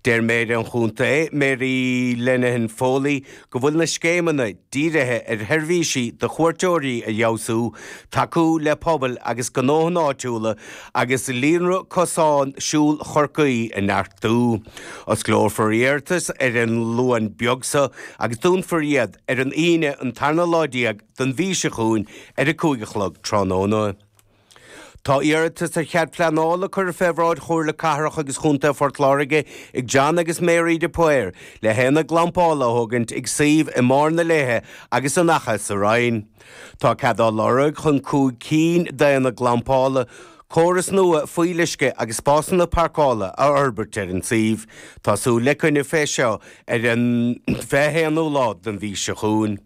Deir Méara an Chontae, Mary Linehan Foley, go bhfuil na scéimeanna dírithe ar sheirbhísí do chuairteoirí a fheabhsú, tacú le pobail agus gnóthanna áitiúla agus líonra cosán siúil Chorcaí a neartú. Osclófar iarratais ar an Luan beag seo agus dúnfar iad ar an Aoine an tarna lá den mhí seo chugainn ar a 5 a chlog tráthnóna. Tá iarratas ar chead pleanála curtha fé bhráid Chomhairle Cathrach agus Chontae Phort Láirge ag John agus Mary de Paor le haonad glampála a thógaint ag suíomh i mBarr na Léithe agus in Achadh sa Rinn. Tá cead á lorg chun 5 cinn d'aonaid glampála, córas nua fuíolluisce agus spásanna parcála a fhorbairt ar an suíomh. Tá súil le coinne fé seo ar an 21ú lá den mhí seo chugainn.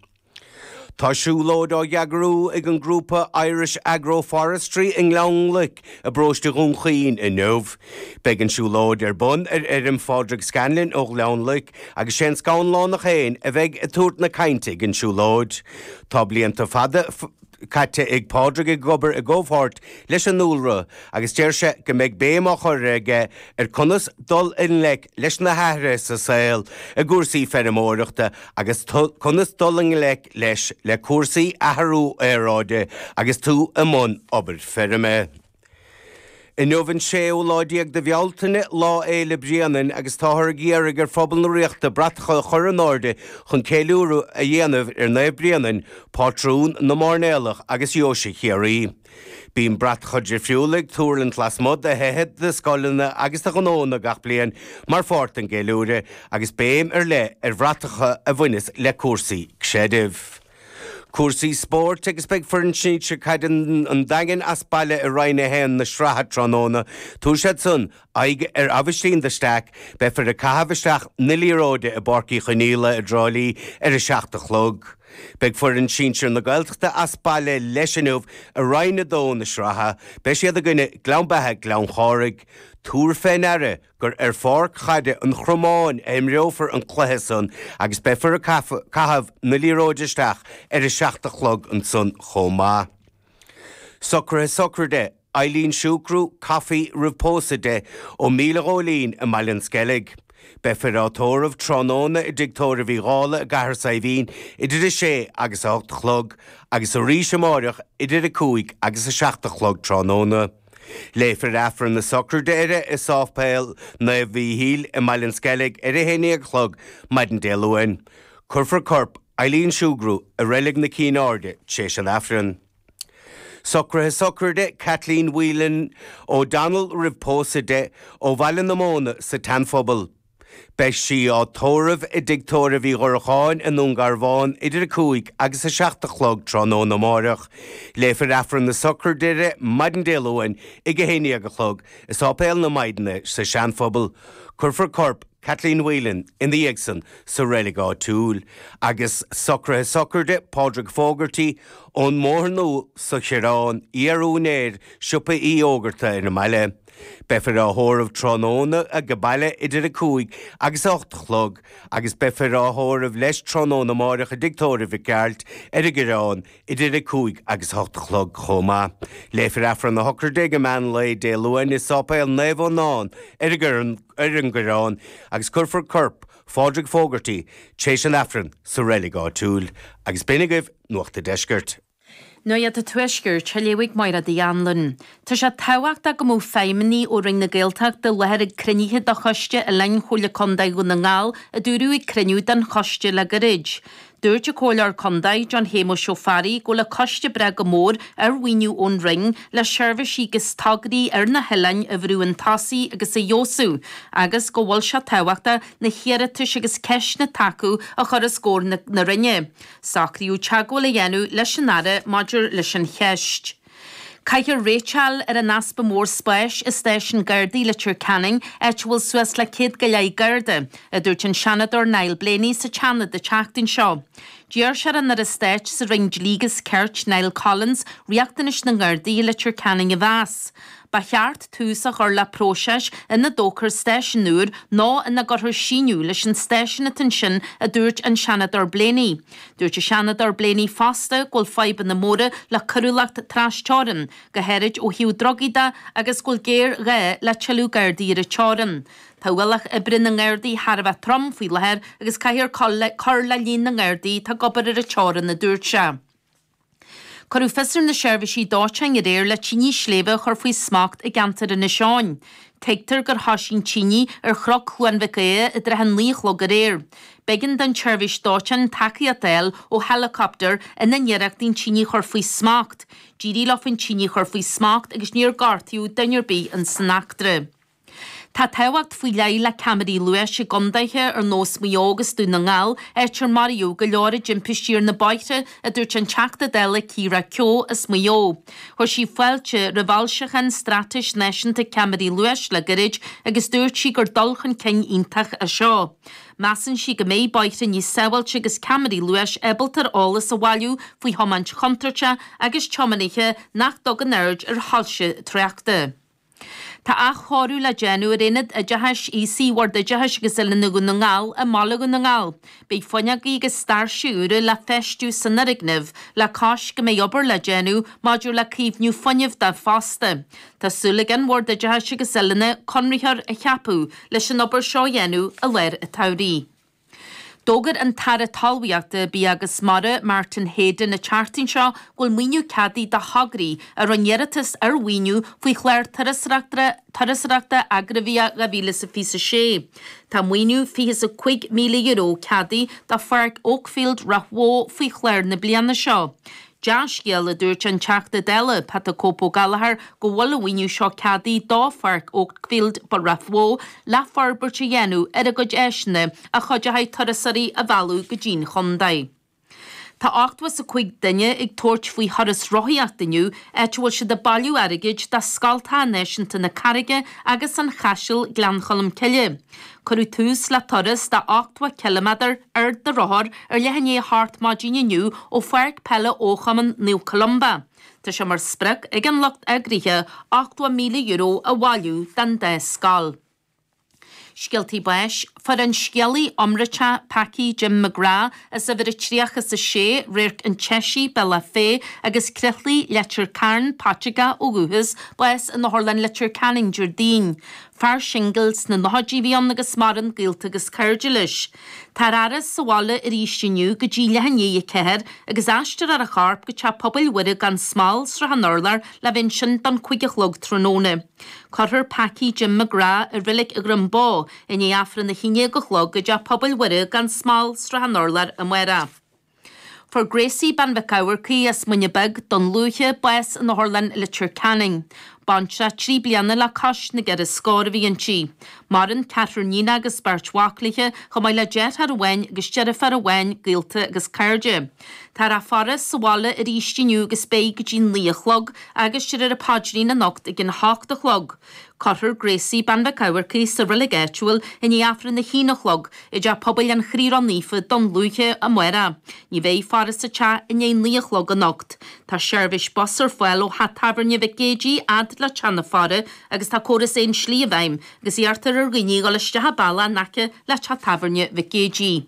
Tá siúlóid á eagrú ag an grúpa Irish Agroforestry i nGleann Loic i bparóiste Dhún Chaoin inniu. Beidh an siúlóid ar bun ar fheirm Phádraig Scanlon ó Ghleann Loic agus sé an Scanlánach féin a bheidh ag tabhairt na cainte ag an siúlóid. Tá blianta fada caite ag Pádraig ag obair i gcomhpháirt leis an ndúlra agus deir sé go mbeidh béim á chur aige ar conas dul i ngleic leis na hathruithe sa saol i gcúrsaí feirmeoireachta agus conas dul i ngleic leis le cúrsaí athrú aeráide agus tú i mbun obair feirme. Inniu an séú lá déag de Bhealtaine, Lá Fhéile Bréanainn, agus táthar ag iarraidh ar phobal na Ríochta bratacha a chur in airde chun ceiliúradh a dhéanamh ar Naomh Bréanainn, pátrún na mairnéalach agus Dheoise Chiarraí. Bíonn bratacha difriúla ag tuirlingt lasmuigh de thithe, de scoileanna agus de ghnóanna gach bliain mar pháirt den gceiliúradh, agus béim ar leith ar bhratacha a bhaineas le cúrsaí creidimh. Cúrsaí spóirt agus beidh foireann sinsir caide an Daingin as baile i Roinn 1 na sraithe tráthnóna. Tabharfaidh siad san aghaidh ar Aibhistín de Staic. Beifear ag caitheamh isteach na liathróide i bPáirc Uí Chonaola i dTrá Lí ar a 7 a chlog. Beidh foireann sinsir na Gaeltachta as baile leis inniu i Roinn 2 na sraithe. Beidh siad i gcoinne Gleann Beatha Gleann Chárthaigh. Tabhair fé ndeara gur ar pháirc chaide an Chromáin a imreofar an cluiche san agus beifear ag caitheamh na liathróide isteach ar a 7 a chlog ansan chomh maith. Socruithe sochraide Eileen Siúcrú, Coffey roimh pósadh di, ó Míle Ghóilín i mBaile an Sceilg. Beifear á tórramh tráthnóna i dTigh Tórraimh Uí Dhálaigh i gCathair Saidhbhín idir 6 agus 8 a chlog agus arís amáireach idir 5 agus 7 a chlog tráthnóna. Léifear Aifreann na sochraide uirthi i Sáipéal Naomh Mhíchíl i mBaile an Sceilg ar a 11 a chlog maidin Dé Luain. Cuirfear corp Eileen Sugrue i Reilig na Cinn Airde tar éis an Aifrinn. Socruithe sochraide Kathleen Whelan O'Donnell roimh pósadh di, ó Bhaile na Móna sa tSeanphobal. Beidh sí á tórramh i dTigh Tórraimh Uí Dhurcháin i nDún Garbhán idir 5 agus 7 a chlog tráthnóna amáireach. Léifear Aifreann na sochraide uirthi maidin Dé Luain ag 11 a chlog i Sáipéal na Maighdine sa Seanphobal. Cuirfear corp Kathleen Whelan ina dhiaidh san sa reilig áitiúil. Agus socruithe sochraide Pádraig Fogarty ón mBóthar Nua sa Choireán, iar-úinéir Siopa Uí Fhógarta ar an mbaile. Beifear á thórramh tráthnóna age baile idir 5 agus 8 a chlog agus beifear á thórramh leis tráthnóna amáireach i dTigh Tórraimh Mhic Gearailt ar an gCoireán idir 5 agus 8 a chlog chomh maith. Léifear Aifreann na sochraide ag meán lae Dé Luain i Sáipéal Naomh Fhionán ar an gCoireán agus cuirfear corp Phádraig Fogarty tar éis an Aifrinn sa reilig áitiúil. Agus b'in agaibh Nuacht a' Deiscirt. Nuacht an Tuaiscirt, á léamh ag Máire Uí Anluain. Tá sé tábhachtach go mbeadh feidhmeannaigh ó Roinn na Gaeltachta i láthair ag cruinnithe de Choiste Oileáin Chomhairle Contae Dhún na nGall, a dúradh ag cruinniú den choiste le gairid. Dúirt an Comhairleoir Contae, John Shéamuis Ó Fearraigh, go bhfuil an coiste ag brath go mór ar mhaoiniú ón Roinn le seirbhísí agus tograí ar na hoileáin a bhrú chun tosaigh agus a fheabhsú agus go bhfuil sé tábhachtach na hiarratais agus ceisteanna atá acu a chur os comhair na Roinne. Socraíodh teagmháil a dhéanamh leis an Aire maidir leis an cheist. Caithfear réiteáil ar an easpa mór spáis i stáisiún Gardaí Leitir Ceanainn, áit a bhfuil suas le 100 go leith Garda, a dúirt an Seanadóir Niall Blaney sa tSeanad an tseachtain seo. D'iarr sé ar an Aire Stáit sa Roinn Dlí agus Cirt, Niall Collins, riachtanais na nGardaí i Leitir Ceanainn a mheas. Ba cheart tús a chur le próiseas ina dtógfar stáisiún úr nó ina gcuirfear síneadh leis an stáisiún atá ansin, a dúirt an Seanadóir Blaney. Dúirt an Seanadóir Blaney fosta go bhfuil fadhbanna móra le coiriúlacht trasteorann, go háirid ó thaobh drugaí de agus go bhfuil géarghá le tuilleadh Gardaí ar an teorainn. Tá ualach oibre na nGardaí thar a bheith trom faoi láthair agus caithfear cur le líon na nGardaí atá ag obair ar an teorainn, a dúirt sé. Cuireadh fios ar na seirbhísí dóiteáin aréir le tine sléibhe a chur faoi smacht i gceantar Inis Eoghain. Tuigtear gur thoisigh an tine ar Chnoc Chluain Mhic Aodha i dtrátha a naoi a chlog aréir. B'éigean don tseirbhís dóiteáin tacaíocht a fháil ó heileacaptar ina n-iarrachtaí an tine a chur faoi smacht. D'éirigh leo an tine a chur faoi smacht agus níor gortaíodh duine ar bith in san eachtra. Tá tábhacht faoi leith le ceamaraí luais i gcondaetha ar nós Maigh Eo agus Dún na nGall, áit ar maraíodh go leor i dtimpistí ar na bóithre, a dúirt an Teachta Dála Ciara Keogh as Maigh Eo. Chuir sí fáilte roimh fhoilseachán Straitéis Náisiúnta Ceamaraí Luais le gairid agus dúirt sí gur dul chun cinn iontach é seo. Measann sí go mbeidh bóithre níos sábháilte agus ceamaraí luais ábalta ar eolas a bhailiú faoi thiomáint chontúirteach agus tiománaithe nach dtugann aird ar shoilse tráchta. Tá athchóiriú le déanamh ar Aonad Oideachais Aosaigh Bhord Oideachais agus Oiliúna Dhún na nGall i mbaile Dhún na nGall. Beidh fuinneogaí agus stáirse úra le feistiú san fhoirgneamh, le cois go mbeidh obair le déanamh maidir le caomhnú fuinnimh de fosta. Tá súil ag an Bhord Oideachais agus Oiliúna conraitheoir a cheapadh leis an obair seo a dhéanamh i lár an tsamhraidh. D'fhógair an tAire Talmhaíochta, Bia agus Mara, Martin Heydon an tseachtain seo go bhfuil maoiniú ceadaithe do thograí a rinne iarratas ar mhaoiniú faoi chlár Turasóireachta Agraibhia 2026. Tá maoiniú €25,000 ceadaithe do Pháirc Oakfield, Ráth Bhoth faoi chlár na bliana seo. Dea-scéal, a dúirt an Teachta Dála, Pat 'Cope Ó Gallchóir, go bhfuil an mhaoiniú seo ceadaithe do Pháirc Oakfield, Ráth Bhoth, le forbairt a dhéanamh ar a gcuid áiseanna a chuideoidh turasóirí a mhealladh go dtí'n chontae. Tá 85 duine ag tabhairt faoi thuras rothaíochta inniu, áit a bhfuil siad ag bailiú airgid do Scoltacha Náisiúnta na Carraige agus an Chaisil, Gleann Cholm Cille. Cuireadh tús le turas de 80 ciliméadar ar do rothar ar leath i ndiaidh a hocht maidin inniu ó Pháirc Peile Chumann Naomh Columba. Tá sé mar sprioc ag an lucht eagraithe €80,000 a bhailiú don dá scoil. Scéaltaí báis, Fuair an scéalaí iomráiteach Packie Jim McGrath as uimhir a 36, Radharc an tSeisigh, Bealach Féich, agus Croithlí, Leitir Cairn, Paiteagach ó dhúchas, bás in Otharlann Leitir Ceanainn Déardaoin. Fear singil sna nóchaidí a bhí ann agus maireann gaolta agus cairde leis. Táthar á fhaire sa bhaile arís inniu go dtí leath i ndiaidh 4 agus aistreofar a chorp go Teach Pobail Mhuire gan Smál, Srath an Urláir le bheith ansin don 5 a chlog tráthnóna. Cuirfear Packie Jim McGrath i Reilig Dhroim Bó i ndiaidh Aifreann a haon déag a chlog i dTeach Pobail Mhuire gan Smál, Srath an Urláir amárach. Fuair Gracie Bean Mhic Eamharcaigh as Muine Bheag, Dún Lúiche, bás in Otharlann Leitir Ceanainn. Baintreach trí bliana le cois na gceithre scór a bhí inti. Maireann ceathrar níonach agus beirt mhac léi, chomh maith le deartháir amháin agus deirfiúr amháin, gaolta agus cairde. Táthar á faire sa bhaile arís inniu agus beidh go dtí 9 a chlog agus déarfar an paidrín anocht ag an hocht a chlog. Cuirfear Gracie Bean Mhic Eamharcaigh sa reilig áitiúil i ndiaidh Aifreann a haon a chlog i dTeach Pobail an Chroí Ró-Naofa, Dún Lúiche, amárach. Ní bheidh faire sa teach i ndiaidh 9 a chlog anocht. Tá seirbhís bus ar fáil ó theach tábhairne Mhic Géidigh fhad le teach na faire agus tá córas aon slí i bhfeidhm agus iarrtar ar dhaoine a dhul isteach an bealach in aice le teach tábhairne Mhic Géidigh.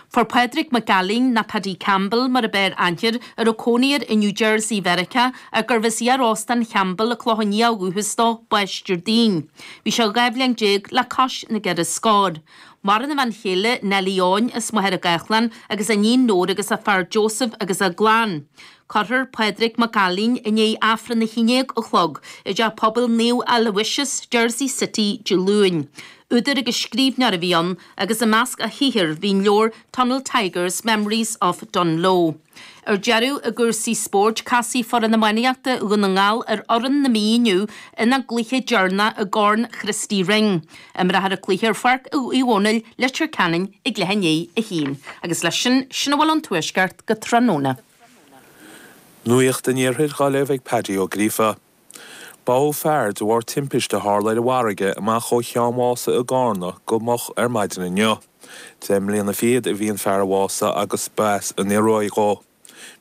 Fuair Pádraig Mac Ailín, nó Paddy Campbell mar ab fhearr aithne air, a raibh cónaí air i New Jersey Mheiriceá ach gurbh as iar-Óstán Champbell i gClochán Liath ó dhúchas dó, bás Déardaoin. Bhí sé 12 bhliain le cois na gceithre scór. Maireann a bhean chéile, Nellie Eoin, as Machaire Gathlán, agus a iníon Nóra agus a fear Joseph agus a gclann. Cuirfear Pádraig Mac Ailín i ndiaidh Aifreann a haon déag a chlog i dTeach Pobail Naomh Aloysius, Jersey City, Dé Luain. Údar agus scríbhneoir a bhí ann agus i measc a shaothair bhí an leabhar Tunnel Tigers, Memories of Dungloe. Ar deireadh, i gcúrsaí spóirt, casfaidh foireann iománaíochta Dhún na nGall ar fhoireann na Mí inniu ina gcluiche deireanach i gCorn Christy Ring. Imreofar an cluiche ar Pháirc Uí Dhónaill, Leitir Ceanainn ag leath i ndiaidh a haon. Agus leis sin, sin a bhfuil ón Tuaisceart go tráthnóna. Nuacht an Iarthair dhá léamh ag Paddy Ó Gríofa. Bádh fear de bharr timpiste a tharla ar an bhfarraige amach ó Cheann Mhása i gCarna go moch ar maidin inniu. Deich mbliana fichead a bhí an fear a bhásaigh agus ba as an Ioruaidh dhó.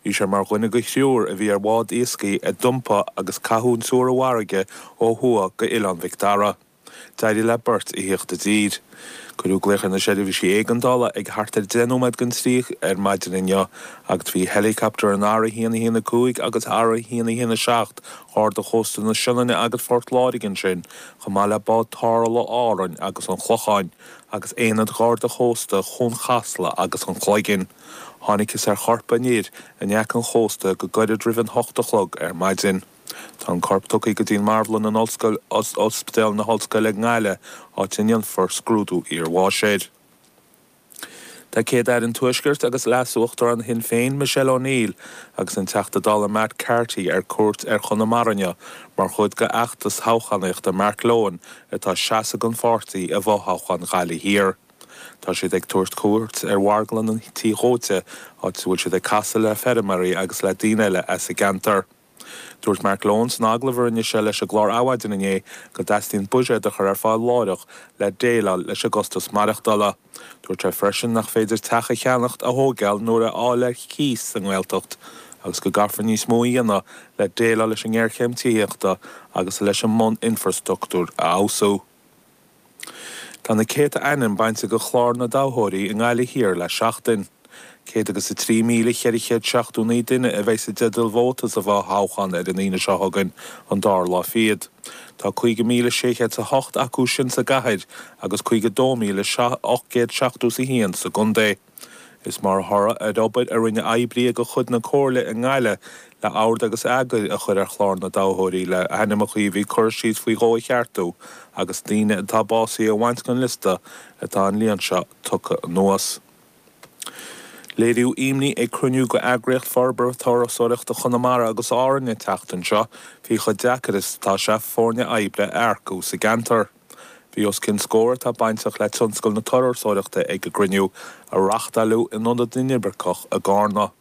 Bhí sé mar dhuine de thriúr a bhí ar bhád iascaigh a d'iompaigh agus caitheadh an triúr i bhfarraige ó thuaidh go Oileán Mhic Dara. D'éirigh le beirt a thíocht i dtír. Cuireadh glaoch ar na seirbhísí éigeandála ag thart ar 10 nóiméad don trí ar maidin inniu agus bhí heileacaptar an R1 1 5 agus R1 1 7 Gharda Chósta na Sionainne agus Phort Láirge ansin chomh maith le bád tarrthála Árainn agus an Chlocháin agus aonad Gharda Chósta Chuan Chasla agus an Chloiginn. Thángthas ar chorp an fhir in aice an chósta go gairid roimh an hocht a chlog ar maidin. Tá an corp tugtha go dtí an marbhlann in Ollscoil Ospidéal na hOllscoile i nGaillimh, áit a ndéanfar scrúdú iarbháis air. Tá Céad-Aire an Tuaiscirt agus Leas-Uachtarán Shinn Féin, Michelle O'Neill, agus an Teachta Dála Matt Carthy ar cuairt ar Chonamara inniu mar chuid de fheachtas toghchánaíochta Mark Lohan atá ag seasamh don pháirtí i bhfothoghchán Ghaillimh Thiar. Tá siad ag tabhairt cuairt ar mharglann an Tí Dhóite, áit a bhfuil siad ag casadh le feirmeoirí agus le daoine eile as an gceantar. Dúirt Mark Lohan san agallamh a rinne sé leis an gclár Adhmhaidin inné go dteastaíonn buiséad a chur ar fáil láithreach le déileáil leis an gcostas maireachtála. Dúirt sé freisin nach féidir teach a cheannacht, a thóigeáil nó a fháil ar cíos sa nGaeltacht agus go gcaithfear níos mó a dhéanamh le déileáil leis an ngéarchéim tithíochta agus leis an mbun-infreastruchtúr a fheabhsú. Tá na céadta ainm bainte de chlár na dtoghthóirí i nGaillimh Thiar le seachtain. 103,479 duine a bheidh i dteideal vóta sa bhfothoghchán ar an Aoine seo chugainn, an dara lá fichead. Tá 50,608 acu sin sa gcathair agus 52,871 sa gcontae. Is mar thoradh ar obair a rinne oibrithe de chuid na Comhairle i nGaillimh le ord agus eagar a chur ar chlár na dtoghthóirí le hainmneacha a bhí curtha síos faoi dhó a cheartú agus daoine atá básaithe a bhaint den liosta atá an líon seo tugtha anuas. Léiríodh imní ag cruinniú de Eagraíocht Forbartha Turasóireachta Chonamara agus Árann an tseachtain seo faoi chomh deacair is atá sé foirne oibre a earcú sa gceantar. Bhí os cionn scór atá bainteach le tionscal na turasóireachta ag an gcruinniú, a reáchtáileadh in Ionad na nImirceach i gCarna.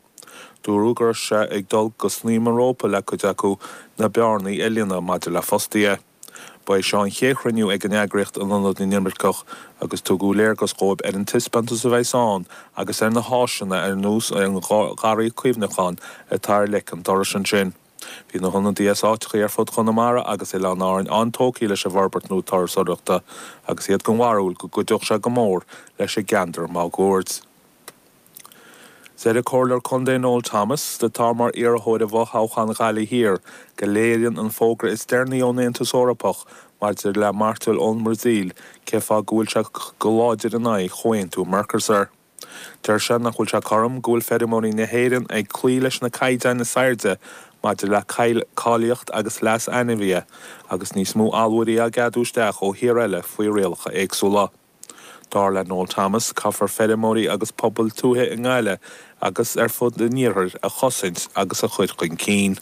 Dúradh go raibh sé ag dul go snaidhm an rópa le cuid acu na bearnaí a líonadh maidir le fostaithe. Ba é seo an chéad chruinniú ag an eagraíocht in Ionad na nImirceach agus tugadh léargas dhóibh ar an taispeántas a bheas ann agus ar na háiseanna ar nós an gharraí cuimhneacháin atá ar leic an dorais ansin. Bhí na hionadaithe as áiteachaí ar fud Chonamara agus Oileáin Árann an-tógtha leis an bhforbairt nua turasóireachta agus iad den bharúil go gcuideodh sé go mór leis an gceantar máguaird. Deir an Comhairleoir Contae Noel Thomas, atá mar iarrthóir i bhfothoghchán Ghaillimh Thiar, go léiríonn an fógra is deireanaí ón Aontas Eorpach maidir le mairteoil ón mBrasaíl cén fáth go bhfuil sé go láidir in aghaidh Chomhaontú Mercosur. Deir sé nach bhfuil sé cothrom go bhfuil feirmeoirí na hÉireann ag cloí leis na caighdeáin is airde maidir le cáilíocht agus leas ainmhithe agus níos mó allmhairí á gceadú isteach ó thíortha eile faoi rialacha éagsúla. Dar le Noel Thomas, caithfear feirmeoirí agus pobail tuaithe i nGaillimh agus ar fud an iarthair a chosaint agus a chur chun cinn.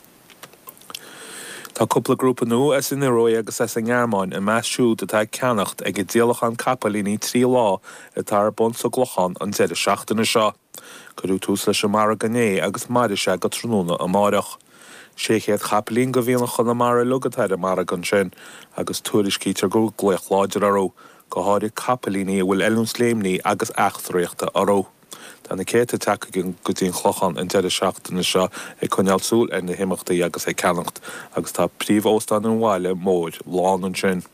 Tá cúpla grúpa nua as an Ioruaidh agus as an nGearmáin i measc siúd atá ag ceannacht ag an díolachán capaillíní 3 lá atá ar bun sa gClochán an deireadh seachtaine seo. Cuireadh tús leis an margadh inné agus mairfidh sé go tráthnóna amáireach. 600 capaillín de mhianach Chonamara uilig atá ar an margadh ansin agus tuairiscítear go bhfuil glaoch láidir orthu, go háirid capaillíní a bhfuil oiliúint léimní agus eachtraíochta orthu. Tá na céadta tagtha go dtí an Clochán an deireadh seachtaine seo ag coinneáil súil ar na himeachtaí agus ag ceannacht agus tá príomh-óstán an bhaile mhóir lán ansin.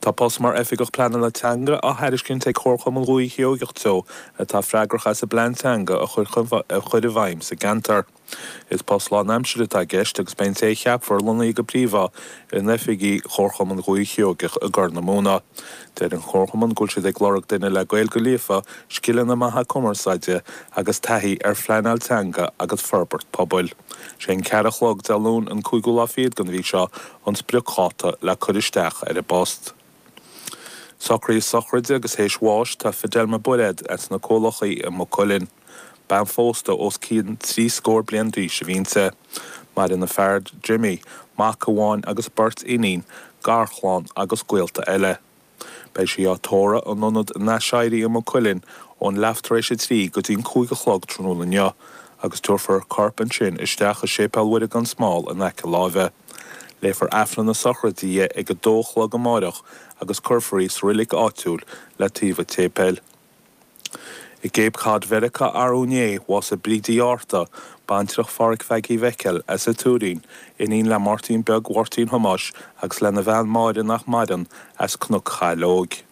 Tá post mar Oifigeach Pleanála Teanga á thairiscint ag Comharchumann Dhúiche Sheoigeach Teo atá freagrach as an bplean teanga a chur i bhfeidhm sa gceantar. Is post lánaimsire atá i gceist agus beidh an té a cheapfar lonnaithe go príomha in oifigí Chomharchumann Dhúiche Sheoigeach i gCorr na Móna. Deir an Comharchumann go bhfuil siad ag lorg duine le Gaeilge líofa, scileanna maithe cumarsáide agus taithí ar phleanáil teanga agus forbairt pobail. Sé an ceathair a chlog Dé Luain an cúigiú lá fichead den mhí seo an spriocdháta le cur isteach ar an bpost. Socruithe sochraide agus théis bháis tá Fidelma Bairéad as na Cualachaí i Maigh Cuilinn. Bean phósta os cionn trí scór bliain d'aois a bhí inti. Maireann a fear Jimmy, mac amháin agus beirt iníon, garchlann agus gaolta eile. Beidh sí á tórramh in Ionad an Aiséirí i Maigh Cuilinn ón leath tar éis a trí go dtí'n 5 a chlog tráthnóna inniu agus tabharfar a corp ansin isteach i Séipéal Mhuire gan Smál in aice láimhe. Léifear Aifreann na sochraide di ag a dó a chlog amáireach agus cuirfear í sa roilig áitiúil le taobh an tséipéil. I gCape Cod Mheiriceá arú inné, bhásaigh Bríd Uí Fhátharta, baintreach Phádhraic Mhaggie Mhicil, as an Tuairín, iníon le Máirtín Beag Mháirtín Thomáis agus lena bhean Máire nach maireann, as Cnoc Chaileoig.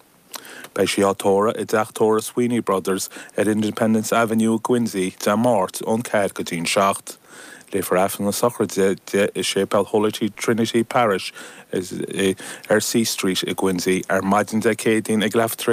Beidh sí á tórramh i dteach tórraimh Sweeney Brothers ar Independence Avenue i gQuincy Dé Máirt ón 4 go dtí'n 7. Léifear Aifreann na sochraide di i Séipéal Holy Trinity Parish ar C Street i gQuincy ar maidin Dé Céadaoin ag leathuair tar.